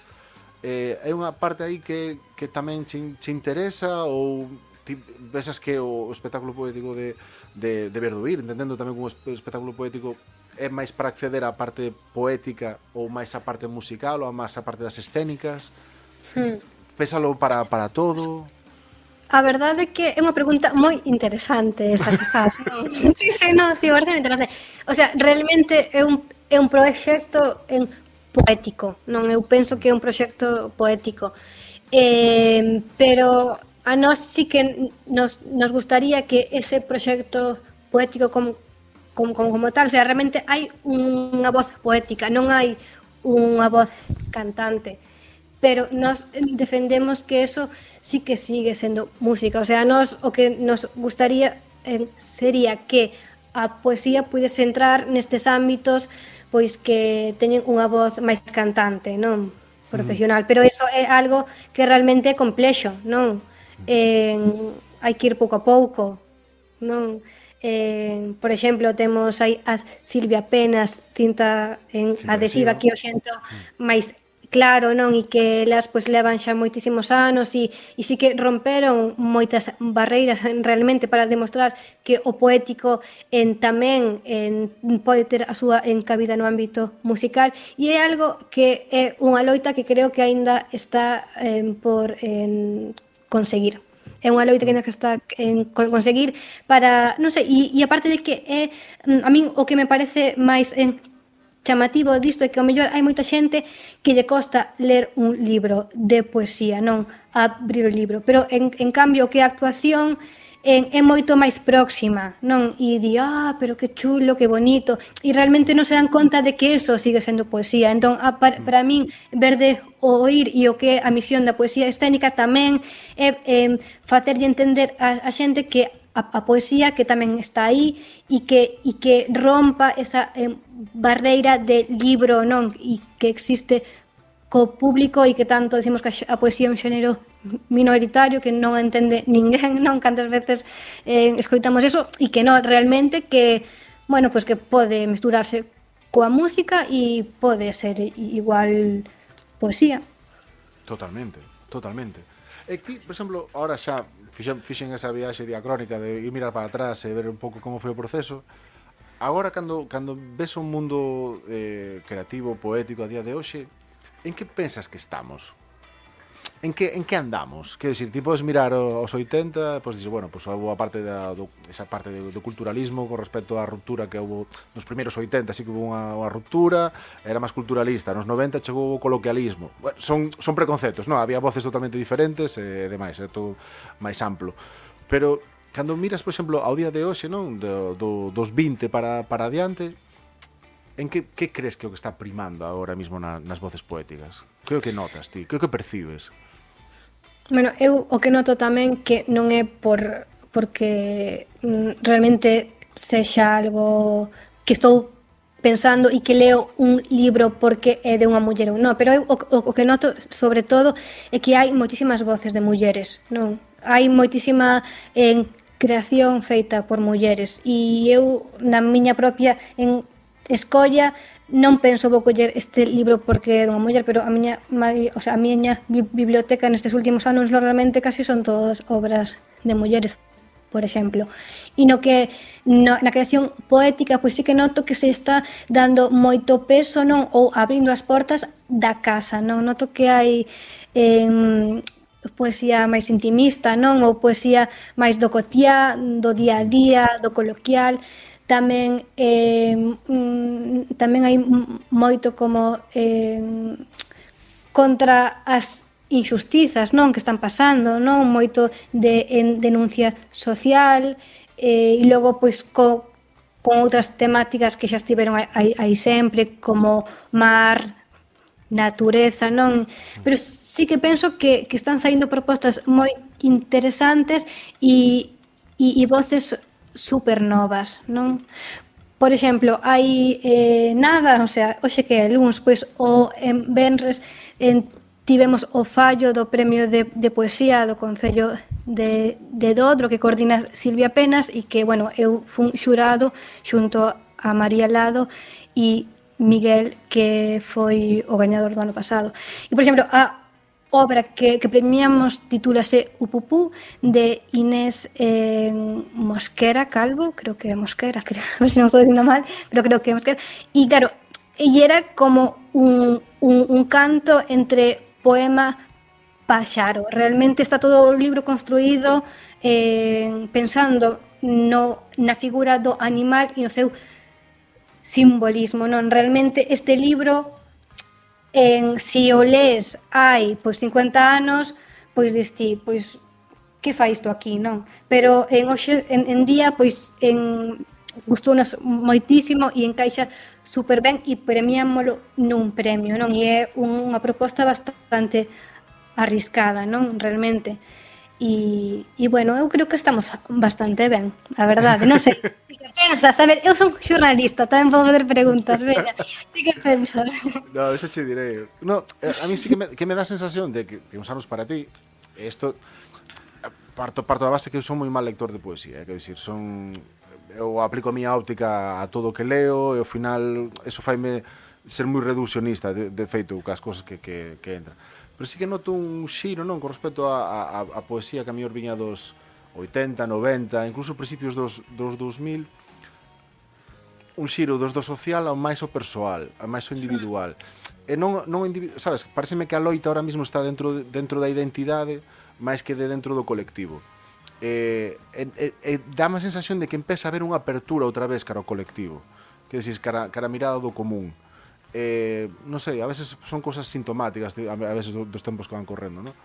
Hai unha parte aí que tamén che interesa, ou ti pensas que o espectáculo poético de Verduir, entendendo tamén que un espectáculo poético é máis para acceder á parte poética ou máis á parte musical ou máis á parte das escénicas? Pénsalo para todo? A verdade é que é unha pregunta moi interesante esa que faz, non? Sí, parece interesante. O sea, realmente é un proxecto poético, non? Eu penso que é un proxecto poético. Pero a nós sí que nos gustaría que ese proxecto poético como tal, o sea, realmente hai unha voz poética, non hai unha voz cantante, pero nós defendemos que eso sí que sigue sendo música, o sea, o que nos gustaría sería que a poesía pudese entrar nestes ámbitos pois que teñen unha voz máis cantante, non profesional, pero eso é algo que realmente é complexo, non? Hai que ir pouco a pouco, non? Por exemplo, temos aí a Silvia Penas, cinta adhesiva que o xento máis claro, non? E que elas pois levan xa moitísimos anos e sí que romperon moitas barreiras realmente para demostrar que o poético tamén pode ter a súa encabida no ámbito musical, e é algo que é unha loita que creo que aínda está por conseguir. É unha loita que ainda está en conseguir para, non sei, e aparte de que a min o que me parece máis chamativo disto é que ao mellor hai moita xente que lle costa ler un libro de poesía, non abrir o libro, pero en cambio o que a actuación é moito máis próxima, non? E di, pero que chulo, que bonito, e realmente non se dan conta de que eso sigue sendo poesía. Entón, para min, ver de oír e o que é a misión da poesía escénica tamén é facerlle entender a xente que a poesía que tamén está aí e que rompa esa barreira de libro, non? E que existe co público e que tanto decimos que a poesía é un xénero minoritario que non entende ninguén, non? Cantas veces escoitamos eso e que non, realmente que, bueno, pues que pode mesturarse coa música e pode ser igual poesía. Totalmente. E ti, por exemplo, ahora xa fixen esa viaxe diacrónica de ir mirar para atrás e ver un pouco como foi o proceso. Agora, cando ves un mundo creativo, poético a día de hoxe, en que pensas que estamos? En que andamos? Quero dicir, ti podes mirar os 80, podes dicir, bueno, pues houve a parte esa parte do culturalismo con respecto á ruptura que houve nos primeiros 80, así que houve unha ruptura, era máis culturalista, nos 90 chegou o coloquialismo. Bueno, son preconceptos, non? Había voces totalmente diferentes e demais, é todo máis amplo. Pero cando miras, por exemplo, ao día de hoxe, non? Dos 20 para adiante, en que crees que é o que está primando agora mesmo nas voces poéticas? Que é o que notas ti? Que é o que percibes? Bueno, eu o que noto tamén que non é porque realmente sexa algo que estou pensando e que leo un libro porque é de unha muller ou non, pero eu o que noto sobre todo é que hai moitísimas voces de mulleres, non? Hai moitísima creación feita por mulleres e eu na miña propia escolla non penso vou coller este libro porque é dunha muller, pero a miña biblioteca nestes últimos anos normalmente casi son todas obras de mulleres, por exemplo. E no que na creación poética, pois sí que noto que se está dando moito peso, non, ou abrindo as portas da casa, non? Noto que hai poesía máis intimista, non? Ou poesía máis do cotiá, do día a día, do coloquial. Tamén hai moito como contra as injustizas, non, que están pasando, non, moito de denuncia social e logo pois con outras temáticas que xa estiveron aí sempre, como mar, natureza, non? Pero sí que penso que están saindo propostas moi interesantes e voces super novas, non? Por exemplo, hai nada, o sea, hoxe que é luns, pois o venres tivemos o fallo do premio de poesía do Concello de Dodro que coordina Silvia Penas e que, bueno, eu fun xurado xunto a María Lado e Miguel, que foi o gañador do ano pasado. E, por exemplo, a obra que premiamos titúlase Upupú, de Inés Mosquera Calvo, creo que é Mosquera, a ver se non estou dicindo mal, pero creo que é Mosquera. E claro, e era como un canto entre poema paxaro. Realmente está todo o libro construído pensando na figura do animal e no seu simbolismo, non? Realmente este libro si o lees hai pois 50 anos, pois diste, pois que fai isto aquí, non? Pero hoxe en día pois gustounos moitísimo e encaixa super ben e premiámolo nun premio, non? E é unha proposta bastante arriscada, non? Realmente. E bueno, eu creo que estamos bastante ben, a verdade, non sei. Que pensas? A ver, eu son xornalista, tamén podo fazer preguntas, veña. Ti que pensas? No, eso che direi. No, a mí sí que me dá a sensación de que uns anos para ti, isto parto da base que eu son moi mal lector de poesía, quero dicir, eu aplico a miña óptica a todo o que leo e ao final eso faime ser moi reduccionista de feito cas cousas que entran. Pero sí que noto un xiro, non, con respecto a poesía que a mellor viña dos 80, 90, incluso principios dos 2000, un xiro do social ao máis o persoal, ao máis o individual. E non sabes, pareceme que a loita ahora mesmo está dentro da identidade máis que dentro do colectivo. Dá a sensación de que empeza a haber unha apertura outra vez cara ao colectivo, que decís, cara a mirada do común. non sei, a veces son cosas sintomáticas, a veces dos tempos que van correndo, non?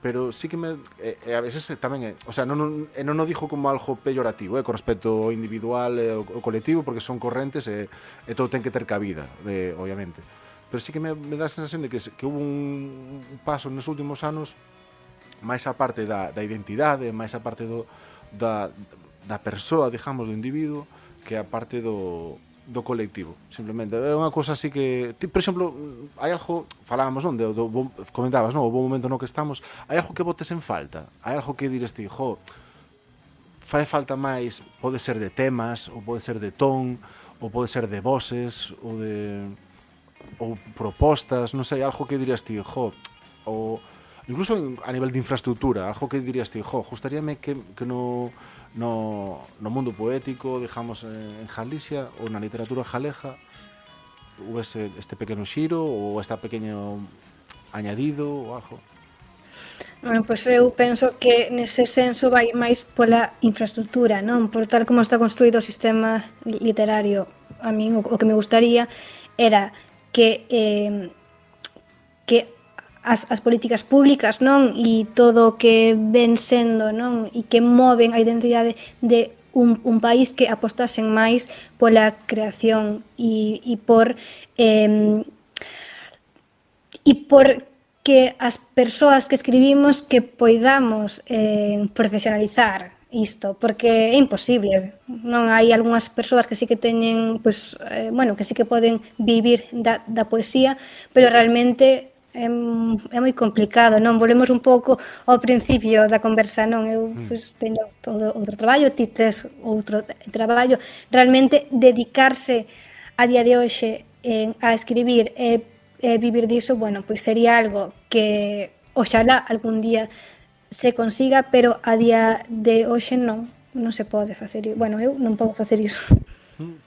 Pero sí que a veces tamén o sea, non o dixo como algo peyorativo, con respecto ao individual e ao colectivo, porque son correntes e todo ten que ter cabida, obviamente. Pero sí que me dá a sensación de que hubo un paso nos últimos anos máis a parte da identidade, máis a parte da persoa, digamos, do individuo, que a parte do colectivo, simplemente. É unha cosa así que, por exemplo, hai algo, falábamos, non, comentabas, non, o bo momento no que estamos, hai algo que botes en falta, hai algo que dires ti, fai falta máis, pode ser de temas, ou pode ser de ton, ou pode ser de voces, ou propostas, non sei, algo que dirías ti, ou incluso a nivel de infraestructura, algo que dirías ti, gustaríame que no mundo poético, digamos, en Galicia ou na literatura galega houvese este pequeno xiro ou este pequeno añadido ou algo. Bueno, pois eu penso que nese senso vai máis pola infraestructura, non? Por tal como está construído o sistema literario, a min o que me gustaría era que as políticas públicas, non, e todo o que ven sendo, non, e que moven a identidade de un país, que apostasen máis pola creación e por que as persoas que escribimos que poidamos profesionalizar isto, porque é imposible, non? Hai algunhas persoas que sí que teñen, pois, bueno, que sí que poden vivir da poesía, pero realmente é moi complicado, non? Volvemos un pouco ao principio da conversa, non? Eu pois, teño todo outro traballo, ti tes outro traballo. Realmente dedicarse a día de hoxe a escribir e vivir diso, bueno, pois sería algo que oxalá algún día se consiga, pero a día de hoxe non se pode facer. Bueno, eu non podo facer iso.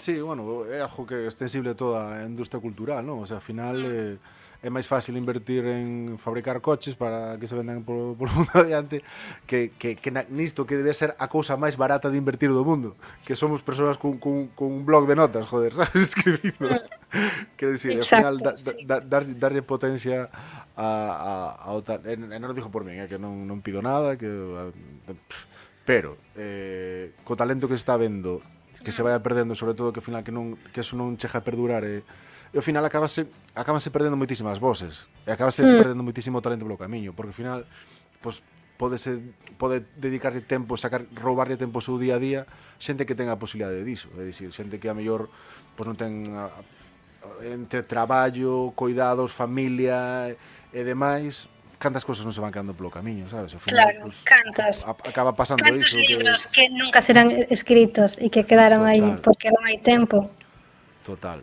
Sí, bueno, é algo que é extensible a toda a industria cultural, non? O sea, ao final é máis fácil invertir en fabricar coches para que se vendan por mundo adiante que nisto que debe ser a cousa máis barata de invertir do mundo, que somos persoas con un blog de notas, joder, sabes, escribindo. Quero dicir, ao final darlle potencia ao tal, non o dixo por min, que non pido nada, pero co talento que se está vendo, que se vai perdendo, sobre todo que ao final que eso non chega a perdurar, e ao final acabanse perdendo moitísimas voces, e acabanse perdendo moitísimo talento polo camiño, porque ao final pois pode dedicarlle tempo, roubarlle tempo ao seu día a día xente que ten a posibilidade diso, é dicir, xente que a mellor pois non ten entre traballo, cuidados, familia e demais, cantas cousas non se van quedando polo camiño, sabes? Ao final, claro, pues, cantas. Acaba pasando Cantos iso. Cantos libros que nunca serán escritos e que quedaron aí porque non hai tempo. Total.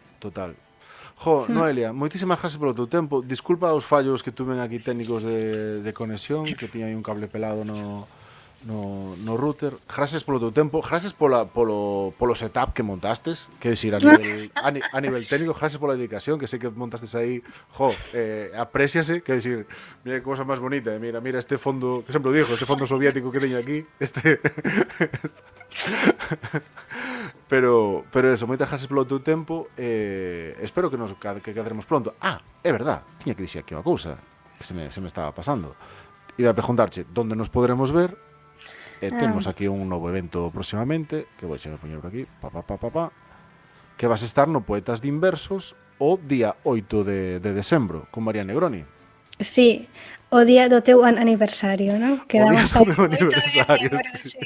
Noelia, moitísimas gracias polo teu tempo. Disculpa os fallos que tuven aquí técnicos de conexión, que tiña aí un cable pelado no router. Gracias polo teu tempo, gracias polo setup que montastes, que decir, a nivel técnico, gracias pola dedicación, que sei que montastes aí, apréciase, que decir, mira que cosa máis bonita, mira este fondo, que sempre o digo, este fondo soviético que teño aquí, pero eso, moitas gracias polo teu tempo, espero que quedaremos pronto. É verdad, tiña que dixer aquí unha cousa que se me estaba pasando. Iba a preguntarche onde nos podremos ver. Temos aquí un novo evento próximamente, que vou poñer por aquí, que vas a estar no Poetas de Inversos o día 8 de decembro con María Negroni. Sí, o día do teu aniversario, non? O día do meu aniversario, sí.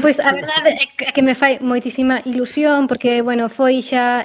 Pois a verdade é que me fai moitísima ilusión, porque, bueno, foi xa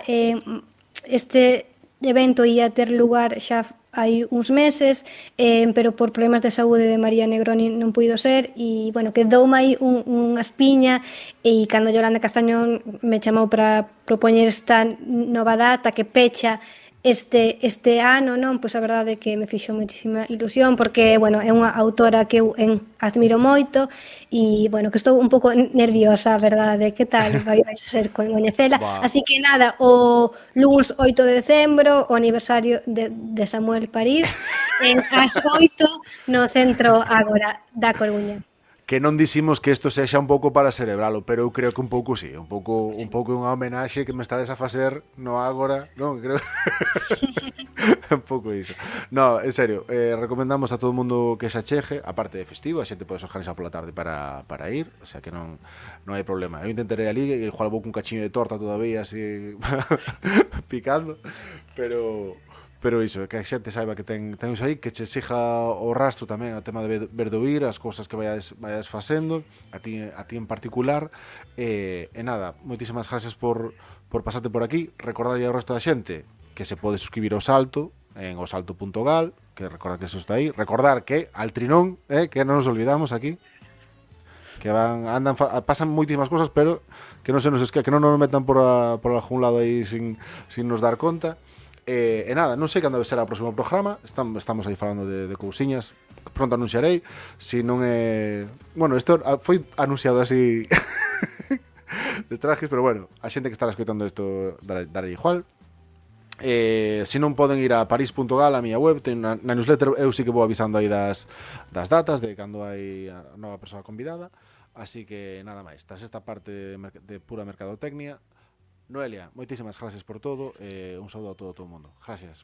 este evento ia ter lugar xa hai uns meses, pero por problemas de saúde de María Negroni non puido ser, e, bueno, quedoume aí unha espiña, e cando Yolanda Castañón me chamou para propoñer esta nova data que pecha este ano, non? Pois a verdade é que me fixo moitísima ilusión, porque, bueno, é unha autora que eu admiro moito, e, bueno, que estou un pouco nerviosa, a verdade. Que tal vai ser coñecela? Así que nada, o luns 8 de decembro, o aniversario de Samuel París, ás 8 no Centro Ágora da Coruña. que non diximos que isto sexa un pouco para cerebralo, pero eu creo que un pouco sí, un pouco unha homenaxe que me estades a facer no agora, non, creo un pouco iso. No, en serio, recomendamos a todo o mundo que se achegue, a parte de festivo, a xente pode organizar pola tarde para ir, o sea que non hai problema. Eu intentarei ali, e igual vou cun cachiño de torta todavía así picando, pero iso, que a xente saiba que ten iso aí, que che siga o rastro tamén o tema de verdoir, as cousas que vayades facendo, a ti en particular, e nada, moitísimas gracias por pasarte por aquí. Recordade ao resto da xente que se pode suscribir ao Salto en osalto.gal, que recordar que eso está aí, recordar que al Trinón, que non nos olvidamos aquí, que pasan moitísimas cousas, pero que non se nos que non nos metan por algún lado aí sin nos dar conta. E nada, non sei cando será o próximo programa. Estamos aí falando de cousiñas. Pronto anunciarei. Se non é... Bueno, isto foi anunciado así de trajes, pero bueno, a xente que estará escoitando isto dará igual. Se non poden ir a paris.gal, a miña web, na newsletter eu sí que vou avisando aí das datas de cando hai a nova persoa convidada. Así que nada máis, tras esta parte de pura mercadotecnia, Noelia, moitísimas gracias por todo, un saúdo a todo o mundo. Gracias.